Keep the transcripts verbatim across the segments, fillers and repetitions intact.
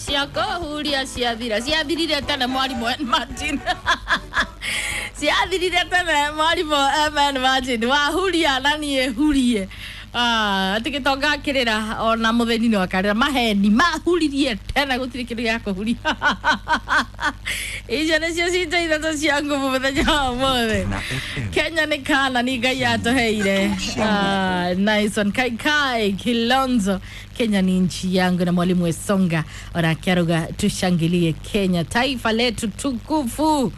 Ciakũhuria ciathira, ciathirire tene mwarimũ Martin. Ciathirire tene mwarimũ M N Martin, wahuria na niĩ hurie. Ah, atĩ gĩtonga kĩrĩra ona mũthĩni no akarĩra. Maheni mahuririe tene, gũtirĩ kĩndũ gĩa kũhuria. Icio nĩcio cito ithatũ cia nguvu mũthenya wa ũmũthĩ. Kenya nĩ kana ni Ngai atũheire. Ah, nice one. Kai Kai Kilonzo, Kenya ni nchi yangu, na mwalimu Wesonga onake aruga tushangilie Kenya, taifa letu tukufu.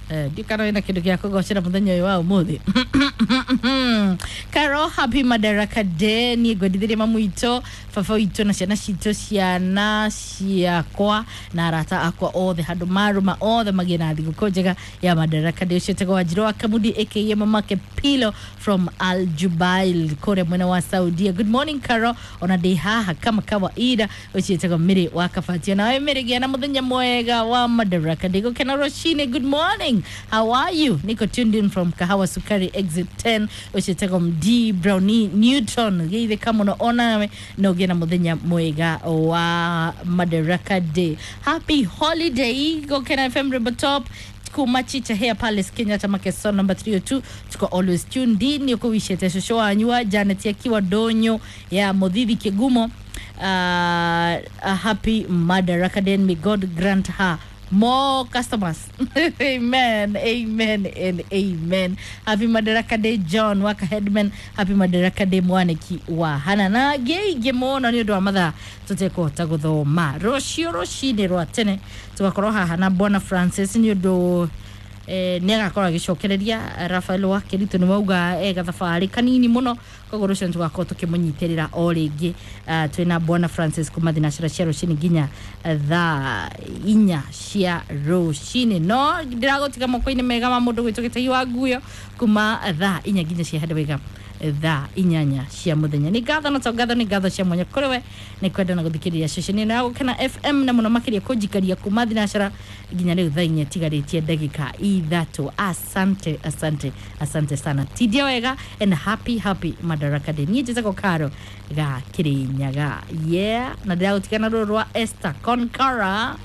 Eh, ndikana wĩna kĩndũ gĩa kũgocera mũthenya ũyũ wa ũmũthĩ. Caro, happy Madaraka Day. Niĩ ngwendithĩria mamu witũ, baba witũ na ciana citũ, ciana ciakwa na arata akwa othe handũ marũma othe magĩe na thigũkũ njega ya Madaraka Day. Ũcio etagwo Wanjirũ wa Kamudi aka Mamake Pilo from Al Jubail kũrĩa mwena wa Saudia. Good morning Caro, ona ndĩ haha kama kawaida. Ũcio etagwo Mĩrĩ wa Kabatia. Nawe Mĩrĩ, gĩa na mũthenya mwega wa Madaraka Day. Gũkena rũcinĩ. Good morning, how are you? Niko tuned in from Kahawa Sukari exit ten. Ũcio etagwo D Brownie Newton, geithĩka mũno onawe na ũgĩe na mũthenya mwega wa Madaraka Day. Happy holiday. Gũkena F M Rebel Top kuma Chicha Hair Palace, Kenyatta Makeson number three oh two, tuko always tuned in. Nĩ ũkũwicĩte cũcũ wanyu wa Janet akiwa ndũnyũ ya Mũthithi Kĩgumo uh, a happy Madaraka Day and may God grant her more customers. Amen, amen and amen. Happy Madaraka Day, John Waka Headman. Happy Madaraka Day, mwaniki wa Hana na ngĩ mũno. Nĩ ũndũ wa mathaa tũtekũhota gũthoma, rũciũ rũcinĩ rwa tene tũgakorwo haha na Bwana Francis nĩ ũndũ eh, nĩ agakorwo agĩcokereria Rafael wa Kĩritũ. Nĩ wauga e gathabarĩ kanini mũno, koguo rũciũ nĩ tũgakorwo tũkĩmũnyitĩrĩra o rĩngĩ. uh, twĩna Bwana Francis kuma thinacara cia rũcinĩ nginya thaa inya cia rũcinĩ, no ndĩragũtiga moko-inĩ mega ma mũndũ gwĩtwo Gĩtegi wa Nguyo kuma thaa inya nginya cia handũ wega thaa inyanya cia muthenya. Nĩ ngatho na to ngatho, nĩ ngatho cia mwanya kũrĩ we nĩ kwenda na gũthikĩrĩria ceceni ĩno ya Gũkena F M, na mũno makĩria kũnjikaria kuma thinacara nginya rĩu thaa inya tigarĩtie ndagĩka ithatũ. Asante, asante, asante sana. Tindia wega and happy happy Madaraka Day. Niĩ njĩtagwo Karo ga Kĩrĩnyaga, yeah, na ndĩragũtigana rũrũ rwa Esther Concara.